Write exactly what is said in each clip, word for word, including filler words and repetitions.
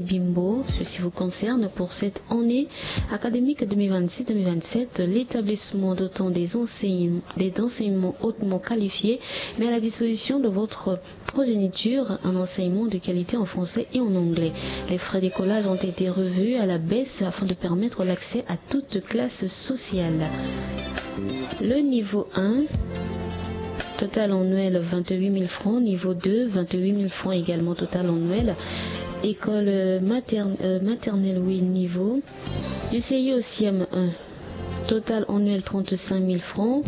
Bimbo. Ceci vous concerne pour cette année académique deux mille vingt-six deux mille vingt-sept. L'établissement dotant des enseignements, des enseignements hautement qualifiés met à la disposition de votre progéniture un enseignement de qualité en français et en anglais. Les frais d'écolage ont été revus à la baisse afin de permettre l'accès à toute classe sociale. Le niveau un, total annuel vingt-huit mille francs. Niveau deux, vingt-huit mille francs également, total annuel. École, euh, materne-, euh, maternelle, oui, niveau. Du C I au C M un, total annuel trente-cinq mille francs.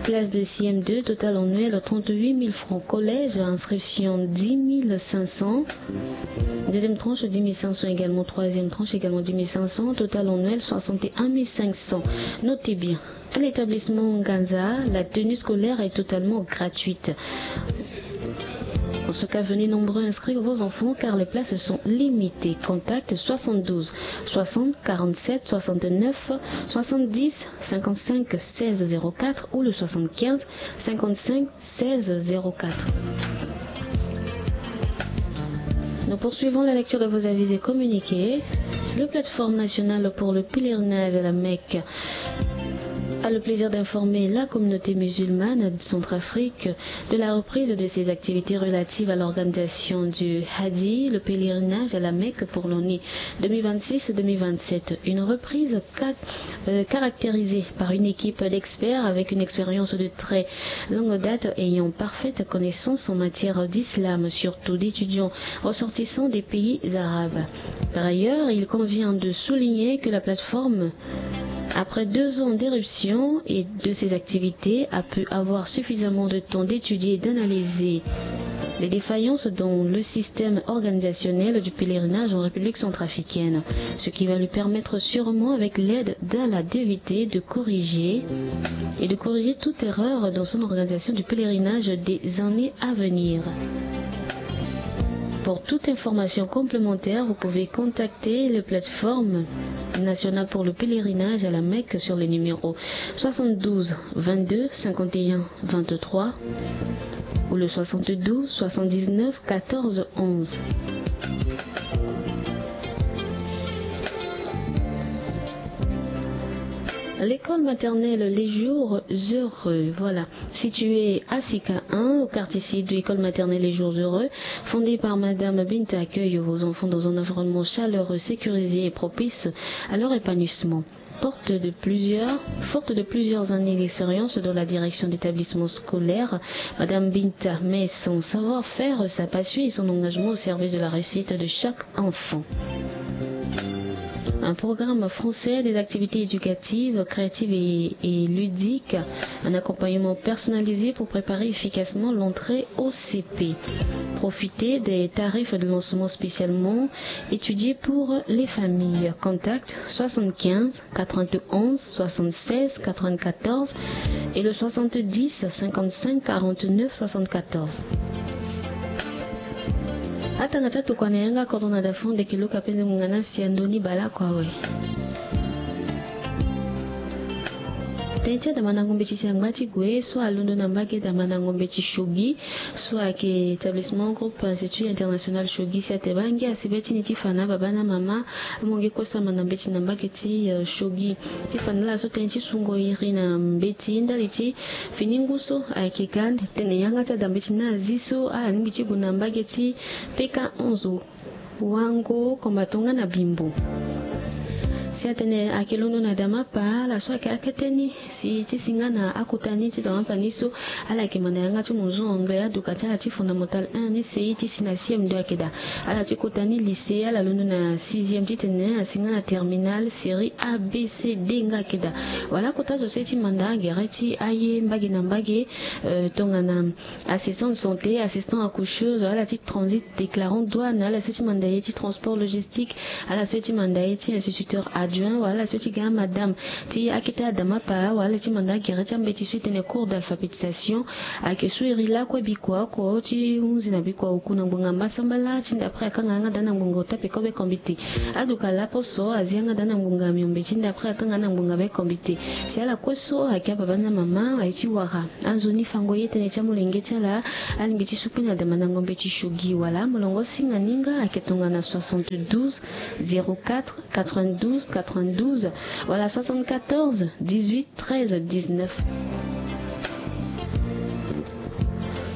Classe de C M deux, total annuel trente-huit mille francs. Collège, inscription dix mille cinq cents. Deuxième tranche, dix mille cinq cents également. Troisième tranche également, dix mille cinq cents. Total annuel, soixante et un mille cinq cents. Notez bien, à l'établissement Nganza, la tenue scolaire est totalement gratuite. En ce cas, venez nombreux inscrire vos enfants car les places sont limitées. Contact soixante-douze soixante quarante-sept soixante-neuf soixante-dix cinquante-cinq seize zéro quatre ou le soixante-quinze cinquante-cinq seize zéro quatre. Nous poursuivons la lecture de vos avis et communiqués. Le plateforme nationale pour le pèlerinage à la Mecque a le plaisir d'informer la communauté musulmane de Centrafrique de la reprise de ses activités relatives à l'organisation du Hadi, le pèlerinage à la Mecque pour l'année deux mille vingt-six deux mille vingt-sept. Une reprise ca-, euh, caractérisée par une équipe d'experts avec une expérience de très longue date ayant parfaite connaissance en matière d'islam, surtout d'étudiants ressortissants des pays arabes. Par ailleurs, il convient de souligner que la plateforme, après deux ans d'éruption et de ses activités, a pu avoir suffisamment de temps d'étudier et d'analyser les défaillances dans le système organisationnel du pèlerinage en République centrafricaine, ce qui va lui permettre sûrement, avec l'aide d'Allah, d'éviter de corriger et de corriger toute erreur dans son organisation du pèlerinage des années à venir. Pour toute information complémentaire, vous pouvez contacter les plateformes nationales pour le pèlerinage à la Mecque sur les numéros soixante-douze vingt-deux cinquante et un vingt-trois ou le soixante-douze soixante-dix-neuf quatorze onze. L'école maternelle Les Jours Heureux, voilà, située à Sika un, au quartier Sédou, école maternelle Les Jours Heureux, fondée par Madame Binta, accueille vos enfants dans un environnement chaleureux, sécurisé et propice à leur épanouissement. Porte de plusieurs, forte de plusieurs années d'expérience dans la direction d'établissements scolaires, Madame Binta met son savoir-faire, sa passion et son engagement au service de la réussite de chaque enfant. Un programme français, des activités éducatives, créatives et, et ludiques, un accompagnement personnalisé pour préparer efficacement l'entrée au C P. Profitez des tarifs de lancement spécialement étudiés pour les familles. Contact soixante-quinze quatre-vingt-onze soixante-seize quatre-vingt-quatorze et le soixante-dix cinquante-cinq quarante-neuf soixante-quatorze. Atanga ti atokua na yanga kodro na da fo ndeke luka mpenze ngonga na si ya ndoni baleoko awe. Tënë ti adamandango mbeti ti angba ti gue so alondo na mbage damandango mbeti Shogi so ayeke établissement groupe Institut International Shogi si atene baa ngia asi be ti ni ti fa na ababâ na amama. Amonge kue so amanda mbeti na mbage ti, eh, Shogi ti fa na ala so tënë ti sungo iri na mbeti ndali ti fini ngu so ayeke ga ande tene yanga ti ada mbeti ni azi so ala lingbi ti gue na mbage ti P K onze Wango Kombatonga na Bimbo. Si atene ayeke londo na Damapa ala so ayeke akete ni si ti si nga na akota ni ti Damapa ni so ala yeke manda yanga ti monzo anglais aduka ti ala ti fondamental un ni si ti si na C M deux ayeke daa. Ala ti kota ni lycée ala londo na sixième titene asi nga na terminale série A B C D nga ayeke daa. Wala kota zo so ye ti manda gere ti aye mbage na mbage, eh, tongana assistant de santé, assistant accoucheuse, ala ti transit déclarant douane, ala so ti manda ye ti transport logistique, ala so ti manda ye ti instituteur ad Juin, wala so ti ga madame ti akete adama apa, wala ti manda gere ti ambeti so e tene cours d'alphabétisation. Ayeke so iri lakue bikua oko ti hunzi na bikua oku na ngbonga mbasambala ti ndapre akanga yanga daa na ngbonga ota peko be kombite. Aduka laposo azi yanga daa na ngbonga miombe ti ndapre akanga na ngbonga be kombite. Si ala kue so ayeke ababa na mama aye ti wara anzoni fango ye tënë ti amolenge ti ala. Alingbi ti sukpe na dama na ngombe ti shogi wala molongo singa ninga ayeke tongana soixante-douze, zéro quatre, quatre-vingt-douze, quatre-vingt-douze, wala soixante-quatorze, dix-huit, treize, dix-neuf.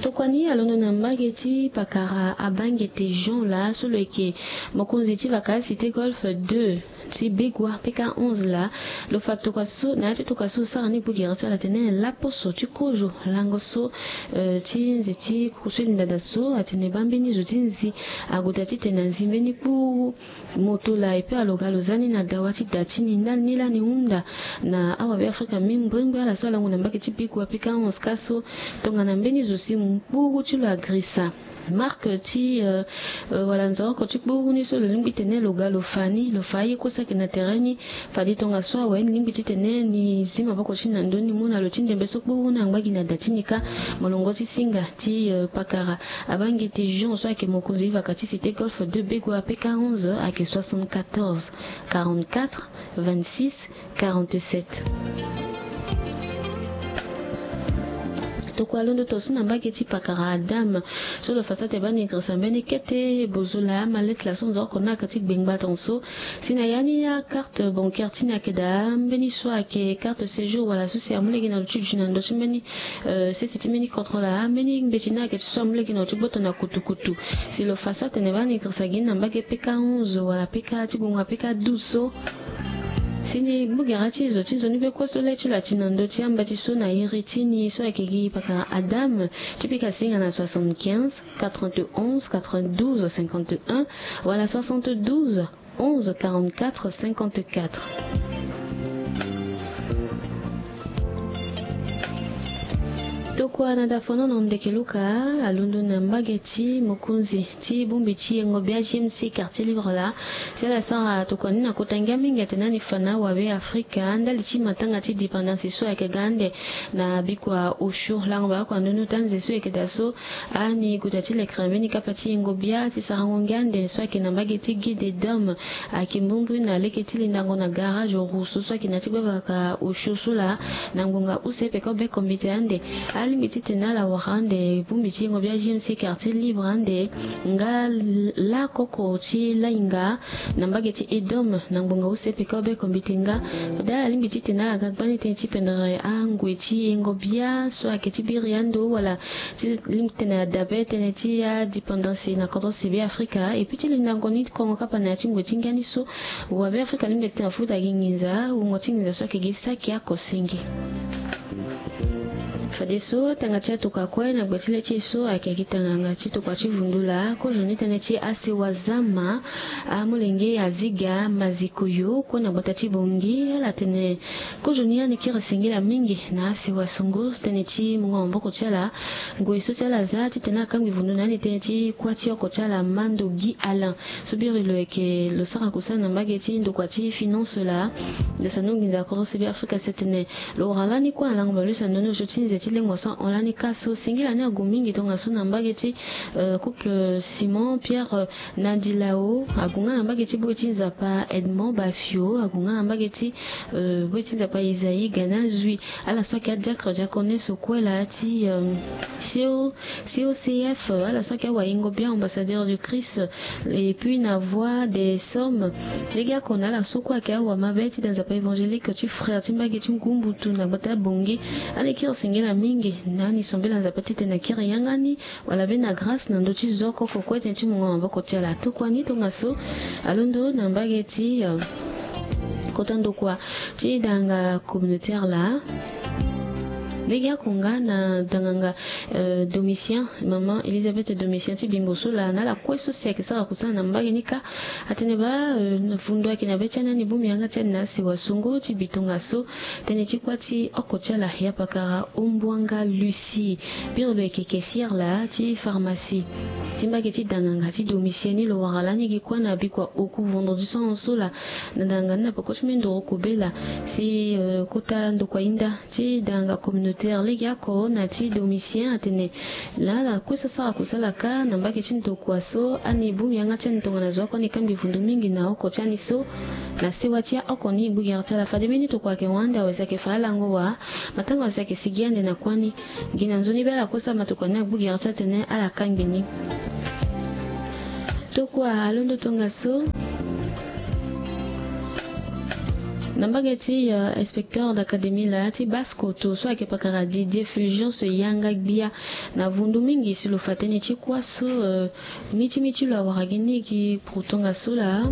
Tokua ni alondo na mbage ti pakara abangete Jean laa so lo yeke mokonzi ti vaka cité golf deux ti Begua P K onze laa. Lo fa tokua so na ya ti tokua so sara ni gbu gere ti ala tene laposo ti kozo lango so, eh, ti nze ti kuku so e linda daa so atene baa mbeni zo ti nzi ague daa titene anzi mbeni kpuru moto laa. Epe alo ga lo za ni na dawa ti da ti ni ndani ni lani hunda na awabe afrika mingi mbrimbri ala so alango na mbage ti Begua P K onze ka so tongana mbeni zo si mu kpuru ti lo agrisa marque ti, euh, euh, wala nzoroko ti kpuru ni so lo lingbi tene lo ga lo fa ni, lo fa aye kue so ayeke na tere ni. Fade tongaso awe ni lingbi titene ni zi maboko ti ni na ndö ni mu na lo ti ndembe so kpuru ni angba gi na da ti ni ka. Molongo ti singa ti, euh, pakara abangete Jean so ayeke mokonzi ti vaka ti cité golf deux Begua P K onze ayeke soixante-quatorze, quarante-quatre, vingt-six, quarante-sept. Tokua londo to so na mbage ti pakara Adam so lo fa so ate baa ni girisa mbeni kete bozola malette laa so nzoroko ni ayeke ti gbengba tongaso. Si na ya ni akarte bancaire ti ni ayeke daa mbeni so ayeke carte séjour wala so si amu lege na lo ti duti na ndö ti mbeni, euh, sese ti mbeni contrôle laa mbeni mbeti ni ayeke ti so amu lege na lo ti gboto na kutukutu. Si lo fa so atene baa ni girisa gi ni na mbage P K onze wala P K ti gonga P K douze so. Si ni gbu gere ti zo ti nzoni be kue so le ti lo ati na ndö ti amba ti so na iri ti ni so ayeke gi pakara Adam ti pika singa na soixante-quinze, quatre-vingt-onze, quatre-vingt-douze, cinquante et un wala soixante-douze, onze, quarante-quatre, cinquante-quatre. Tokua na dafono na ndeke Luka alondo na mbage ti mokonzi ti bongbi ti yengo bia G M C quartier libre laa. Si ala sara tokua ni na kota ngia mingi atene ani fa na awabe afrika ndali ti matanga ti dépendance so ayeke ga ande na bikua osio lango baa kua ndonu ti anze so ayeke daa so. Ani guta ti lekere mbeni kapa ti yengo bia ti sarango ngia ande so ayeke na mbage ti Guy de Dome. Ayeke mbrimbri na lege ti lindango na garage Rousseau so ayeke na ya ti gbavaka osio so laa na ngbonga use peko be kombite ande. Alingbi titene ala wara ande bongbi ti yengo bia G M C quartier libre ande nga lakoko ti lainga na mbage ti Edome na ngbonga use peko be kombite nga. Fade ala lingbi titene ala ga gbani tënë ti pendere angoi ti yengo bia so ayeke ti biri ando wala ti lingbi titene adabe tënë ti adépendance na kodro si be afrika. Epi ti lindango ni kongo kapa na ya ti ngoi ti ngia ni so. Wa be afrika lingbi titene afuta gi nginza wungo ti nginza so ayeke gi saki oko senge. Fadeso tanga ti atokua kue na gbe ti le ti e so ayeke gi tanganga ti tokua ti vundu laa kozo ni tënë ti asewa zama. Amolenge aziga mazikoyo kue na gbata ti bongi ala tene kozo ni ani kiri singila mingi na asewa songo tënë ti mungo maboko ti ala. Ngoi so si ala za titene akangbi vundu na ani tënë ti kuâ ti oko ti ala mando gi alain. So biri lo yeke lo sara kosala na mbage ti ndokua ti finance laa. Lo sando nginza kodro si be afrika si atene lo wara lani kue alango bale lo sando ni osio ti nze ti lengua so ahon lani ka so singila ni ague mingi tongaso na mbage ti, euh, couple Simon Pierre, euh, Nadilao ague nga na mbage ti boi ti nzapa Edmond Bafio ague nga na mbage ti, euh, boi ti nzapa Isaïe Ganazui. Ala so ayeke adiacre diaconesse kue laa ti, euh, C O C O C F, ala so ayeke awayengo bia ambassadeur du Christ. Et puis na voix des sommes lege oko na ala so kue ayeke awamabe ti da nzapa évangélique ti frère ti mbage ti ngu mbutu na gbata bongi. Ani kiri singila mingi na ani sombela nzapa titene akiri yanga ni wala be na grâce na ndö ti zo oko kue tënë ti mungo maboko ti ala tokua ni tongaso. Alondo na mbage ti, euh, kota ndokua ti danga communautaire laa. Lege oko nga na danganga, euh, Domitien, maman Elisabeth Domitien ti Bimbo so laa, na ala kue so si ayeke sara kusala na mbage ni kâ, atene baa, euh, na vundu ayeke na be ti ani, ani bongbi yanga ti ani na asewa songo ti bi tongaso. Tënë ti kuâ ti oko ti ala ya pakara Ombwanga Lucie, biri lo yeke caissière laa ti pharmacie ti mbage ti danganga ti Domitien ni. Lo wara lani gi kuâ na bikua oku vendredi so ahon so laa, na danganga ni na peko ti mendoro kobela si, euh, kota ndokua hinda ti danganga communautaire lege oko na ti Domitien atene na ala kue so asara kusala kâ na mbage ti ndokua so, ani bongbi yanga ti ani tongana zo oko ani kangbi vundu mingi na oko ti ani so na sewa ti aoko ni. Gbu gere ti ala fade mbeni tokua ayeke hon ande awe si ayeke fa alango wa, matanga wa si ayeke sigi ande na kuâ ni. Gi na nzoni be ala kue so amatokua ni agbu gere ti atene ala kangbi ni. Tokua alondo tongaso na mbage ti, euh, inspecteur d'académie laa ti Basse-Kotto so ayeke pakara Didier Fulgence Yanga Gbia. Na vundu mingi si lo fa tënë ti kuâ so, euh, miti miti lo awara gi ni gi kuru tongaso laa.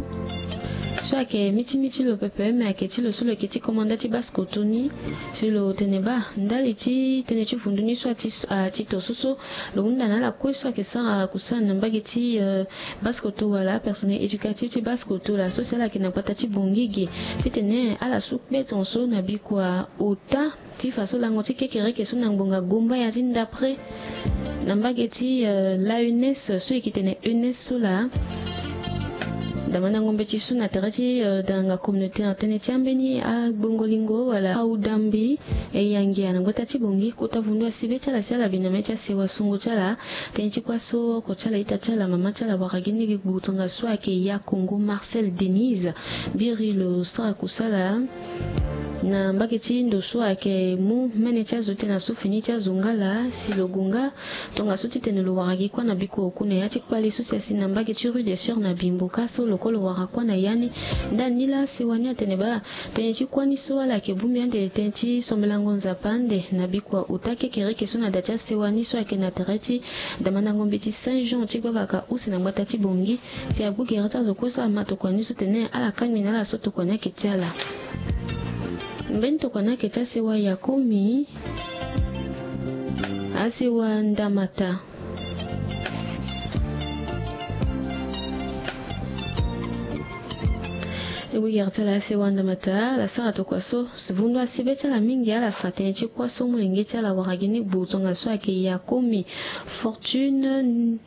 So ayeke miti miti lo pepe, me ayeke ti lo so lo yeke ti komanda ti Basse-Kotto ni. Si lo tene baa ndali ti tënë ti vundu ni so ati, ati to so so lo hunda na ala kue so ayeke sara kusala na mbage ti, euh, Basse-Kotto wala personnel éducatif ti Basse-Kotto laa, so si ala yeke na gbata ti Bangui ge titene ala su kpe tongaso na bikua ota ti fa so lango ti kekereke so na ngbonga Gombaya ti ndapre na mbage ti, euh, l'A E N S so e yeke tene E N S so laa. Damandango mbeti so na tere ti, euh, danganga communautaire, tënë ti ambeni agbongo lingo wala audambi e yangia na gbata ti Bangui, kota vundu asi be ti ala si ala bi na mê ti asewa songo ti ala. Tënë ti kuâ so oko ti ala, ita ti ala, mama ti ala wara gi ni gi gbu tongaso ayeke Yakongo Marcel Denise. Biri lo sara kusala na mbage ti ndo so ayeke mu mene ti azo tënë na so fini ti azo nga laa, si lo gue nga tongaso titene lo wara gi kuâ na bikua oku na ya ti kpale so si asi na mbage ti rue des Sœurs na Bimbo kâ so lo kue lo wara kuâ na ya ni. Ndani ni laa sewa ni atene baa tënë ti kuâ ni so ala yeke bongbi ande tënë ti sombelango Nzapa ande na bikua ota kekereke so na da ti asewa ni so ayeke na tere ti damandango mbeti Saint Jean ti gbavaka use na gbata ti Bangui. Si agbu gere ti azo kue so ama tokua ni so tene ala kangbi na ala so tokua ni ayeke ti ala. Mbeni tokua ni ayeke ti asewa Yakomi, asewa Ndamata. E gbu gere ti ala asewa Ndamata, ala sara tokua so si vundu asi be ti ala mingi, ala fa tënë ti kuâ so molenge ti ala wara gi ni gbu tongaso ayeke Yakomi Fortune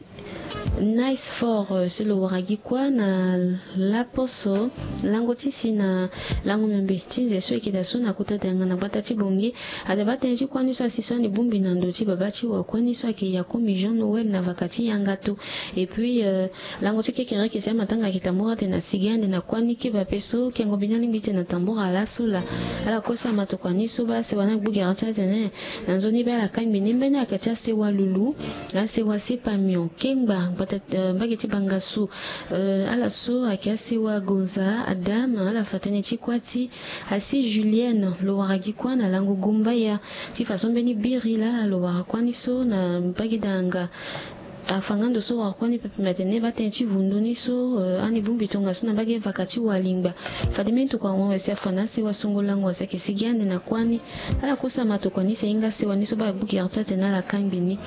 Nice Fort, euh, si lo wara gi kuâ na laposo lango ti si na lango miombe ti nze so e yeke daa so na kota danga na gbata ti Bangui. Ada baa tënë ti kuâ ni so asi so ani bongbi na ndo ti babâ ti wa kuâ ni so ayeke Yakomi Jean Noël na vaka ti yanga to. Et puis, euh, lango ti kekereke si amatanga ayeke tambula atene asi gi ande na kuâ ni keba pe so kengo mbi ni alingbi ti tene atambula laso laa. Ala kue so ama tokua ni so baa asewa ni agbu gere ti atene na nzoni be ala kangbi ni. Mbeni ayeke ti asewa Lulu, asewa Sepamion Kengba, gbata, euh, mbage ti Bangassou, euh, ala so ayeke asewa Gonza Adam, ala fa tënë ti kuâ ti asi Julienne lo wara gi kuâ na lango Gombaya. Ti façon mbeni biri laa lo wara kuâ ni so na mbage danga. Afa nga ndo so wara kuâ ni pepe me atene baa tënë ti vundu ni so, euh, ani bongbi tongaso na mbage vaka ti walingba. Fade mbeni tokua ahon awe si afa na asewa songo lango asi ayeke sigi ande na kuâ ni. Ala kue so ama tokua ni si ahinga asewa ni so baa agbu gere ti atene ala kangbi ni.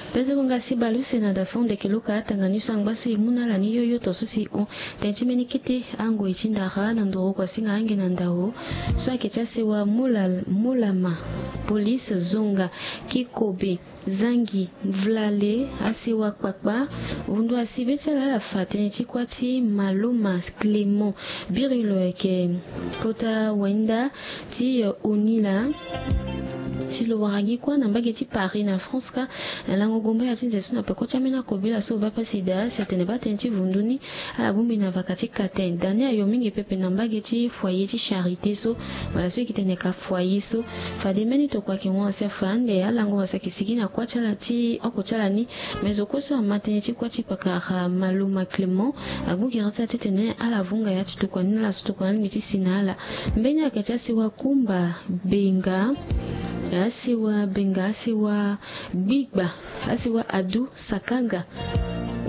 Pezeko nga si bale use na da fo ndeke lo ka atanga ni so angba so e mu na ala ni yoyo to so si e hon. Tënë ti mbeni kete angoi ti ndara na ndoro kua singa ange na ndao. So ayeke ti asewa Mola, Molama, Police, Zonga, Kikobe, Zangi, Mvlale, asewa Kpakpa. Vundu asi be ti ala ala fa tënë ti kuâ ti Maloma Clément. Biri lo ayeke kota wahinda ti, euh, Onila. Si lo wara gi kuâ na mbage ti Paris na France kâ, na lango Gombaya ti nze so na peko ti ambeni akobela so lo baa pasi daa si atene baa tënë ti vundu ni ala bongbi na vaka ti katen. Da ni ayo mingi pepe na mbage ti foyer ti Charité so, wala so e yeke tene ka foyer so. Fade mbeni tokua ayeke hon asi afa ande alango asi ayeke sigi na kuâ ti ala ti oko ti ala ni. Me zo kue so ama tënë ti kuâ ti pakara Maloma Clément agbu gere ti ala titene ala vunga ya ti tokua ni na ala so tokua ni alingbi ti si na ala. Mbeni ayeke ti asewa Kumba Benga, asewa Benga, asewa Gbigba, asewa Adu Sakaga.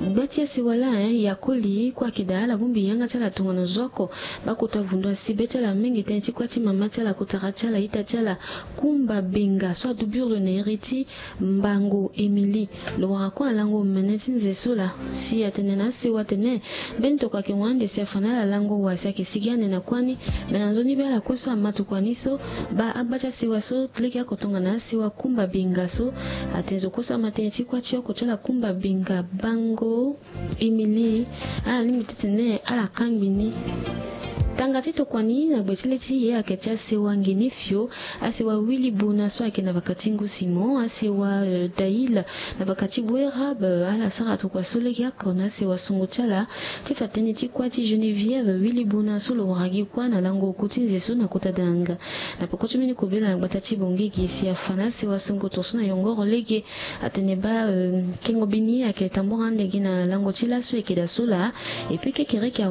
Gba ti asewa laa, yakoli kue ayeke daa ala bongbi yanga ti ala tongana zo oko. Bakota vundu asi be ti ala mingi tënë ti kuâ ti mama ti ala, kotara ti ala, ita ti ala, Kumba Benga so adubirlo na iri ti Mbango Émilie. Lo wara kue alango mene ti nze so laa si atene na asewa atene mbeni tokua ayeke wande si afa na ala lango wa si ayeke sigi ande na kuâ ni. Me na nzoni be ala kue so ama tokua ni so, baa agba ti asewa so legeoko tongana asewa Kumba Benga so, atene zo kue so ama tënë ti kuâ ti oko ti ala Kumba Benga Bango Émilie, ala lingbi ti tene ala kangbi ni. Tanga ti tokua ni na gbe ti le ti e ayeke ti asewa Nginifio, asewa Willy Bona so ayeke na vaka ti Ngu Simon, asewa, euh, Daïla na vaka ti Bouérab, euh, ala sara tokua so legeoko na asewa songo ti ala ti fa tënë ti kuâ ti Geneviève Willy Bona so lo wara gi kuâ na lango oku ti nze so na kota danga. Na peko ti mbeni kobela na gbata ti Bangui gi si afa na asewa songo tongaso na yongoro lege. Atene baa, euh, kengo bini ayeke tambora ande gi na lango ti laso ayeke daa so laa. Et puis kekereke awa